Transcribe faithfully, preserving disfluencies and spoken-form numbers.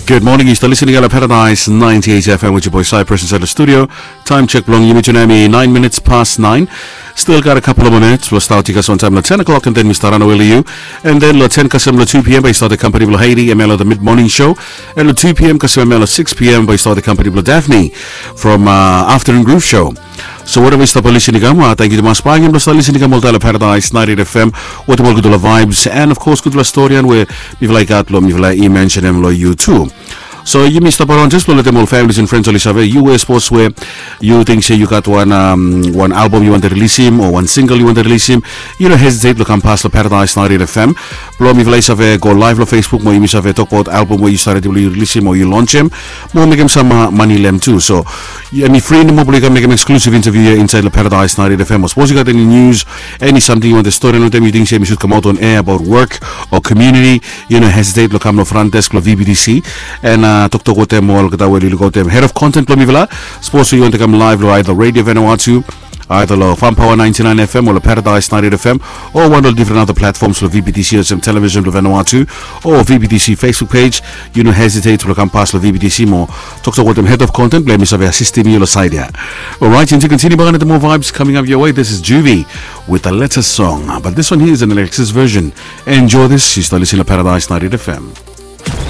Good morning, yu stap listening long Paradise ninety-eight F M with your boy Cyprus inside the studio. Time check blong yumi tonight mi nine minutes past nine. Still got a couple of minutes. We'll start you guys on time at ten o'clock, and then we start on early you. And then lo ten kasem lo two p.m. by start the company blo Haiti, M L O the mid morning show. And lo two p.m. kasem M L O six p.m. by start the company blo Daphne from uh, afternoon groove show. So whatever stop listening kam, uh, thank you to mas pangin lo start listening kam all Paradise ninety-eight F M. What about good vibes and of course good story and we mifala i gat lo mifala i mention em lo you too. So yumi stap around just lo letem ol families and friends oli save yu we sports we yu ting se yu gat wan um, wan album yu want to release him o wan single yu want to release him. Yu no hesitate lo kam pas lo Paradise ninety-eight F M. Blo mifala i save go live lo Facebook mo yumi save tokbaot album we yu save release him o yu launch him. Mo mekem sam uh, mani lem tu. So em i fri nomo blo yu kam mekem exclusive interview ia inside lo Paradise ninety-eight F M. O suppose yu gat any news, any something yu want to story lo tem yu ting se mi should come out on air about work or community. Yu no hesitate lo kam lo front desk lo V B T C and uh, toktok wetem ol kata we liluk wetem head of content lo mifala. Suppose yu want to come live lo either Radio Vanuatu, either lo Farm Power ninety-nine F M o lo Paradise ninety-eight F M o wan lo different other platforms lo V B T C o sem television lo Vanuatu o V B T C Facebook page. Yu no hesitate lo kam pas lo V B T C mo toktok wetem head of content blo mi save assistim yu lo side ia. Alright, and to continue back on the more vibes coming up your way. This is Juvie with the letter song, but this one here is an Alexis version. Enjoy this. Yu stap listening lo Paradise ninety-eight F M.